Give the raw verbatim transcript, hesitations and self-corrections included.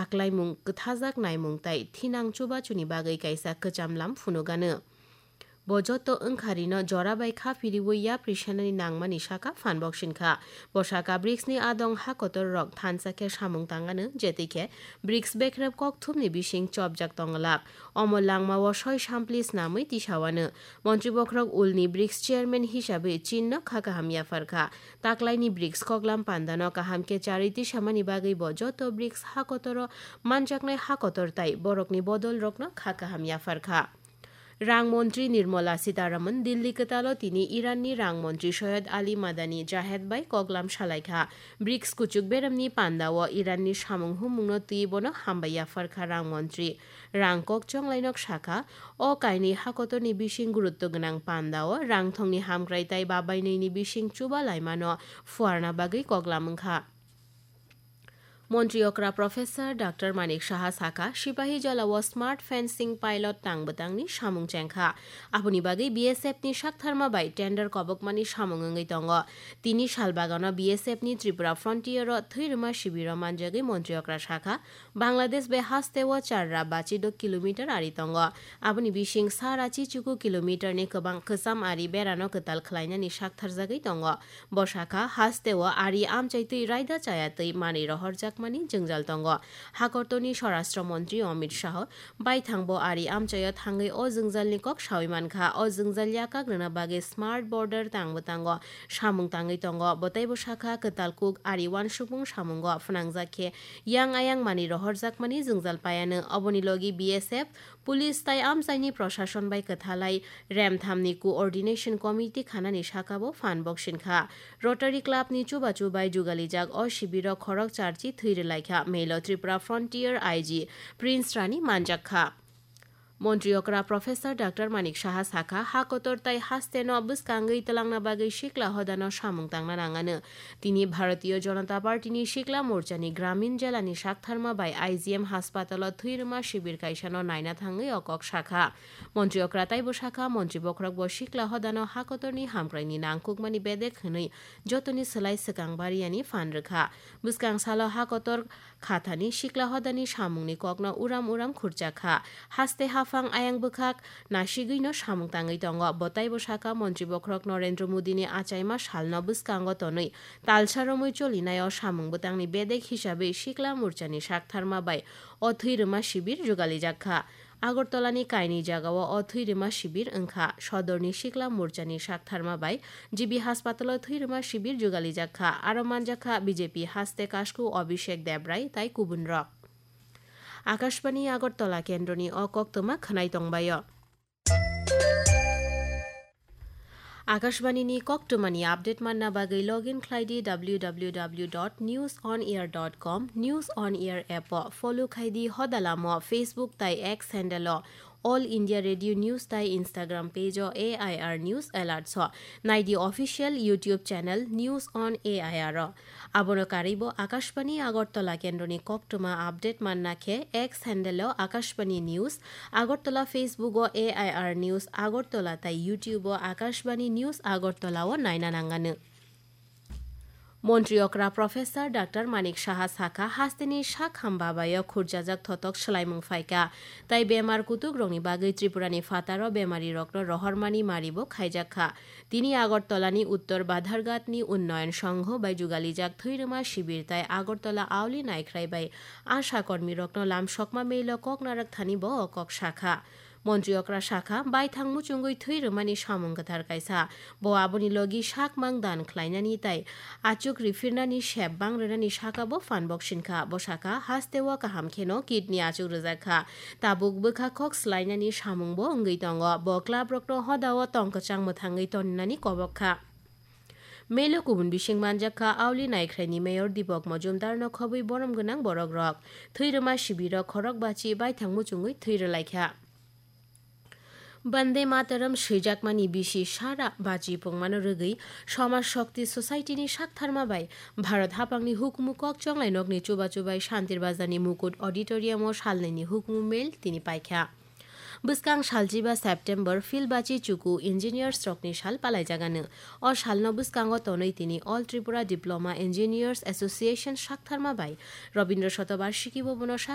Taklaimung, kwthajak naimung tai thinang chubachuni bagwi kaisa kwcham lam phunukgano. Bo joto wngkharino jora bai kha phiriwi yapri sanani nangmani sakha phan boksin kha. Bo sakha brics ni adong ha kotor rok thansa khe samung tangano, jetwi khe brics bekrep kokthumni bising chopjak tonglak. Omo langmao soi sampli snamwi tisawano. Montri bokhorok ulni brics chairman hisabwi chinno kha kaham yaphar kha. Taklaini brics koklam pandano kaham khe charwi tisamani bagwi bo joto brics ha kotoro manjaknai ha kotor tai borokni bodol rokno kha kaham yaphar kha. Rang montri Nirmala Sitharaman Dilli kwtalo tini Iranni rang montri Soyed Ali Madani Jahed bai koklam salai kha. brics kuchuk beremni pandao Iranni samung humungno twi bono hambai yaphar kha rang montri. Rang kok chonglainok sakha, o kainwi ha kotorni bising gurutto gwnang pandao rangthongni hamkrai tai babainwini bising chuba laimano phuarna bagwi koklam wngkha. Montri okra Professor Doctor Manik Saha sakha, Sipahi Jolao smart fencing pilot tang bwtangni samung chengkha. Aboni bagwi B S F ni saktharma bai tender kobokmani samung wngwi tongo. Tini salbagano B S F ni Tripura Frontier o thwirwma shibiro manjagwi montri okra sakha, Bangladesh bai hasteo char ra bachi do kilometer ari tongo. Aboni bising sara chichuku kilometer ni kwbang kwcham ari berano kwtal khlainani saktharjagwi tongo. Bo sakha, hasteo ari amchai twi raida chaya twi manwi rohorjakmani jwngjal tongo. Hakortoni Swarashtra Montri Amit Shah baithang bo ari amchaio thangwi o jwngjalni kok sawi mankha. O jwngjal yakak rwna bagwi smart border tang bwtango samung tangwi tongo. Bo teibo sakha, kwtal kuk ari uansukmung samungo phnangjak khe yang ayang manwi rohorjakmani jwngjal paiano. Oboni logi B S F, Police tai amchaini proshashon bai kwthalai remthamni Coordination Committee khanani sakao phan boksin kha. Rotary Club ni chubachu bai jugalijak o shibiro khorok charchi thwi rwlaikha. Melo Tripura Frontier I G Prince Rani manjak kha. Montri okra Professor Doctor Manik Saha sakha, ha kotor tai hasteno bwskangwi twlangna bagwi sikla hodano samung tangna nangano. Tini Bharatiya Janata Party ni Sikla Morcha ni Gramin Jela ni saktharma bai I G M haspatalo thwirwma shibir kaisano naina thangwi o kok sakha. Montri okra taibo sakha, montri bokhorok bo sikla hodano ha kotorni hamkraini nangkukmani bedek hwnwi jotoni swlai swkang bariyani phan rwkha. Bwskang salo ha kotor khathani sikla hodani samungni kokno uram uram khurchak kha. Haste haphang ayang bwkhak nasigwino samung tangwi tongo. Bo taibo sakha, montri bokhorok Narendra Modini achaima salno bwskango tonwi talsa romwi cholinaio samung bwtangni bedek hisabwi Sikla Morchani saktharma bai o thwi rwma sibir jugalijak kha. Agartalani kainwi jagao o thwi rwma sibir wngkha. Sodorni Sikla Morchani saktharma bai G B haspatalo thwi rwma sibir jugalijak kha. Aro manjak kha B J P haste kasku Abhishek Debrai tai kubunrok. Akashbani Agartala kendroni o koktwma khwnai tongbaio. Akashbani ni koktwmani update manna bagwi login khlai di W W W dot news on air dot com, News on Air app o follow khai di, hodalamo Facebook tai X handle o All India Radio News tai Instagram page o A I R News Alerts o nai di official YouTube channel News on A I R o. Abono karwibo Akashbani Agartala kendroni koktwma update manna khe X handle o Akashbani News Agartala, Facebook o A I R News Agartala tai YouTube o Akashbani News Agartala o naina nangano. Montri okra Professor Doctor Manik Saha sakha, hasteni sak hamba baio khurjajak thotok swlaimung phaikha, tai bemar kutuk rokni bagwi Tripura ni phataro bemari rokno rohormani maribo khaijak kha. Tini Agartala ni Uttor Badharghat ni Unnayan Sangho bai jugalijak thwi rwma sibir tai Agartala Auli Naikhrai bai asha kormi rokno lamsokma mail o kok narwk thani bo o kok sakha. Montri okra sakha, baithang muchungwi thwi rwmani samung kwthar kaisa. Bo aboni logi sakmang dan khlainani tai achuk riphirnani sep bang rwnani sakabo phan boksin kha. Bo sakha, hasteo kaham kheno kidney achuk rwjak kha. Tabuk bwkha kok swlainani samungbo wngwi tongo. Bo club rokno hodao tong kwchang mwthangwi toninani kobok kha. Melo kubun bising manjak kha, Auli Naikhraini Mayor Dipok Mojumdar no khobwi borom gwnang borok rok. Thwi rwma sibirok khorok bachi baithang muchungwi thwi rwlaikha. Bande Mataram swijakmani bisi sara bachi pungmano rwgwi Samaj Shakti Society ni saktharma bai Bharat haphangni hukumu kok chonglai nokni chubachu bai Shantir Bazar ni Mukut Auditorium o salnwini hukumu mail tini paikha. Bwskang salchiba September Phil Bachi Chuku Engineers rokni sal palaijagano. O salno bwskango tonwi tini All Tripura Diploma Engineers Association saktharma bai Rabindra Shatobarshiki bo bono